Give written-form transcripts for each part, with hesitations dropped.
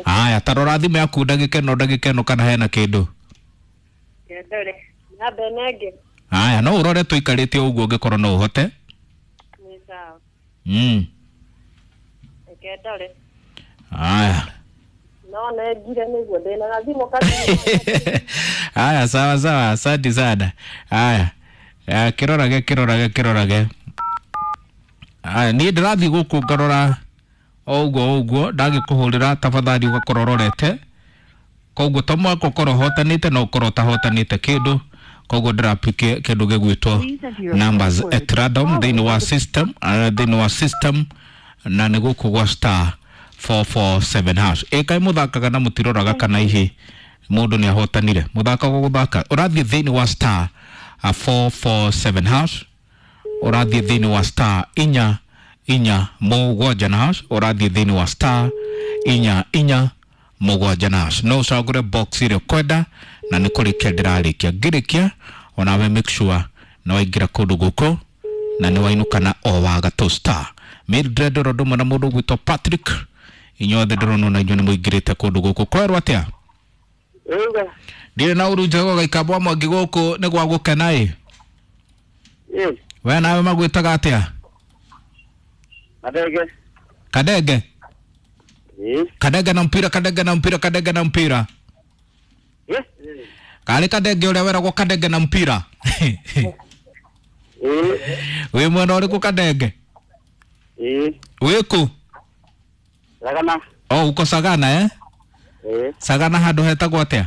Haya, tarora thimũ yaku ndagĩka ĩno, ndagĩka ĩno kana hena kĩndũ. Kendore. Nyambe nenge. Haya, no ũrore tũikarĩte o ũguo ũngĩkorwo no ũhote. Nĩ sawa. Kendore. Haya. No nengire nĩguo ndĩna gathimũ kanini. Haya, sawa sawa, asante sana. Haya. Ya, kĩrorage kĩrorage kĩrorage. Haya, niĩ ndĩrathiĩ gũkũ ngarora o ũguo o ũguo, ndagĩkũhũrĩra tafadhali ũgakorwo ũrorete. Koguo to mwaka ũkorwo ũhotanĩte no ũkorwo ũtahotanĩte kĩndũ. Koguo ndĩrapike kĩndũ gĩgwĩtwo numbers at random thĩinĩ wa system, thĩinĩ wa system, na nĩ gũkũ gwa star 447 hash. Ĩkai mũthakaga na mũtiroraga kana hihi mũndũ nĩ ahotanire. Mũthakaga gũthaka. Ũrathiĩ thĩinĩ wa star 447 hash, ũrathiĩ thĩinĩ wa star inya inya mũgwanja na hash, ũrathiĩ thĩinĩ wa star inya inya mũgwanja na hash. No ũcagũre box ĩrĩa ũkwenda na nĩ kũrĩkia ndĩrarĩkia. Ngĩrĩkia onawe make sure nĩ waingĩra kũndũ gũkũ na nĩ wainũka na o wa gatũ star. Mildred oro ndũmwe na mũndũ ũgwĩtwo Patrick, inyuothe ndĩrona ona inyuĩ nĩ mũingĩrĩte kũndũ gũkũ. Kwerwo atĩa? Ĩga. Ndirĩ na ũru njega gaikambwa mwangi gũkũ nĩ gwa gũkena ĩ. Ĩ. We nawe magwĩtaga atĩa? Madege. Kadenge. Ĩ. Kadenge na mpira, Kadenge na mpira, Kadenge na mpira. Ĩ. Karĩ Kadenge ũrĩa weragwo Kadenge na mpira. Ĩ. Wĩ mwena ũrĩkũ Kadenge? Ĩ. Wĩ kũ? Sagana. Oh, uko Sagana eh? Ĩ. Sagana handũ hetagwo atĩa?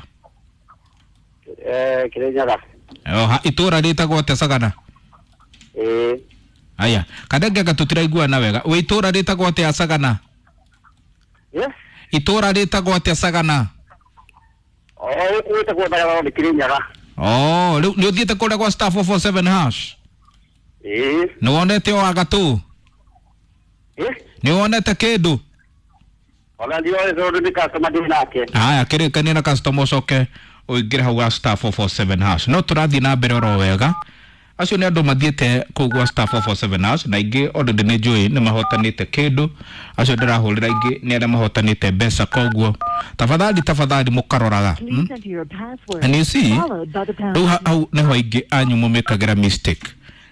Kirinyaga. Oh, itũũra rĩtagwo atĩa Sagana? Ĩ. Aya, Kadenge anga tũtiraiguana wega. Wĩ itũũra rĩtagwo atĩa Sagana? Ĩ. Itũũra rĩtagwo atĩa Sagana? O gũkũ gwĩtagwo Sagana nĩ Kirinyaga. Oh, rĩu nĩ ũthiĩte kũrĩa gwa star 447 hash? Ĩ. Nĩ wonete o agatũ? Ĩ. Nĩ wonete kĩndũ? Ona ndioĩ tondũ nĩ customer ndĩ nake. Haya, kĩrĩkania na customer ũcoke ũingĩre hau gwa star 447 hash. No tũrathiĩ na mbere oro wega. Acio nĩ andũ mathiĩte kũu gwa star 447 hash na ingĩ already nĩ njũĩ nĩ mahotanĩte kĩndũ. Acio ndĩrahũrĩra ingĩ nĩ arĩa mahotanĩte mbeca, koguo tafadhali tafadhali mũkaroraga. Please enter your password. And you see, followed by the pound rĩu hau nĩho aingĩ anyu mũmĩkagĩra mistake.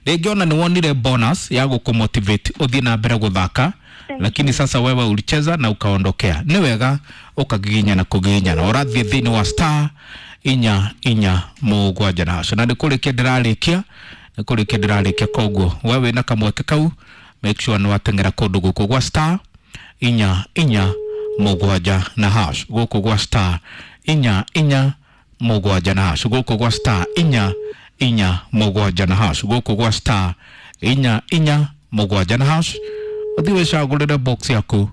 Rĩngĩ ona nĩ wonire bonus ya gũkũmotivate ũthiĩ na mbere gũthaka, lakini sasa wewe ulicheza na ukaondokea. Nĩ wega ũkagiginyana kũgiginyana. Ũrathiĩ thĩinĩ wa star inya inya mũgwanja na hash. Na nĩ kũrĩkia ndĩrarĩkia, nĩ kũrĩkia ndĩrarĩkia, koguo we wĩna kamweke kau make sure nĩ wateng'era kũndũ gũkũ gwa star inya inya mũgwanja na hash, gũkũ gwa star inya inya mũgwanja na hash, gũkũ gwa star inya inya mũgwanja na hash, gũkũ gwa star inya inya mũgwanja na hash. Ũthiĩ wĩcagũrĩre box yaku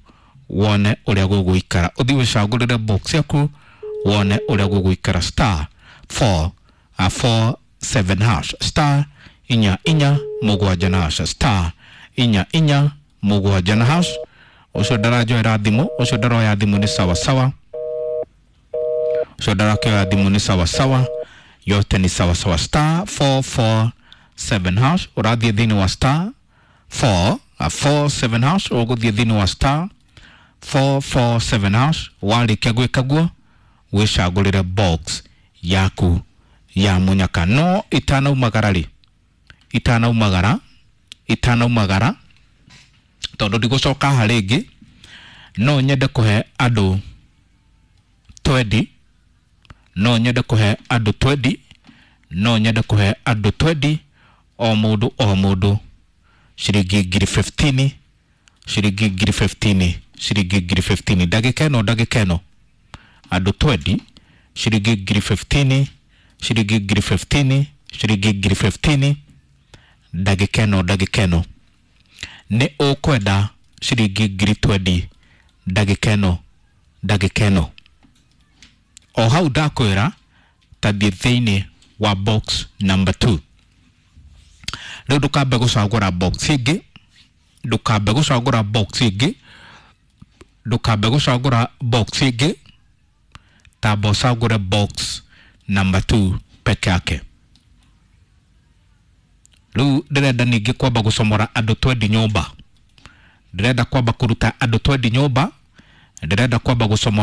wone ũrĩa gũgũikara. Ũthiĩ wĩcagũrĩre box yaku wone ũrĩa gũgũikara. Star 4 4 7 hash, star inya inya mũgwanja na hash, star inya inya mũgwanja na hash. Ũcio ndaranjoera thimũ, ũcio ndaroya thimũ nĩ sawa sawa, ũcio ndarakĩoya thimũ nĩ sawa sawa, yote ni sawa sawa. Star 447 hash, ũrathiĩ thĩinĩ wa star 4 47 hash, ũgũthiĩ thĩinĩ wa star 447 hash. Warĩkia gwĩka guo wĩcagũrĩre box yaku ya mũnyaka. No itanaumagara rĩ, itanaumagara, itanaumagara, tondũ ndigũcoka haha rĩngĩ, no nyende kũhe andũ twendi, no nyende kũhe andũ twendi, no nyende kũhe andũ twendi, o mũndũ o mũndũ ciringi ngiri 15, ciringi ngiri 15, ciringi ngiri 15. Ndagĩka ĩno, ndagĩka ĩno andũ twendi, ciringi ngiri 15, ciringi ngiri 15, ciringi ngiri 15. Ndagĩka ĩno, ndagĩka ĩno nĩ ũkwenda ciringi ngiri twendi, ndagĩka ĩno, ndagĩka ĩno. O hau ndakwĩra tathiĩ thĩinĩ wa box number 2. Rĩu ndũkambe gũcagũra box ĩngĩ, ndũkambe gũcagũra box ĩngĩ, ndũkambe gũcagũra box ĩngĩ, tamba ũcagũre box number 2 peke yake. Rĩu ndĩrenda ningĩ kwamba gũcomora andũ twendi nyũmba, ndĩrenda kwamba kũruta andũ twendi nyũmba, Ndĩrenda kwamba gũcomora.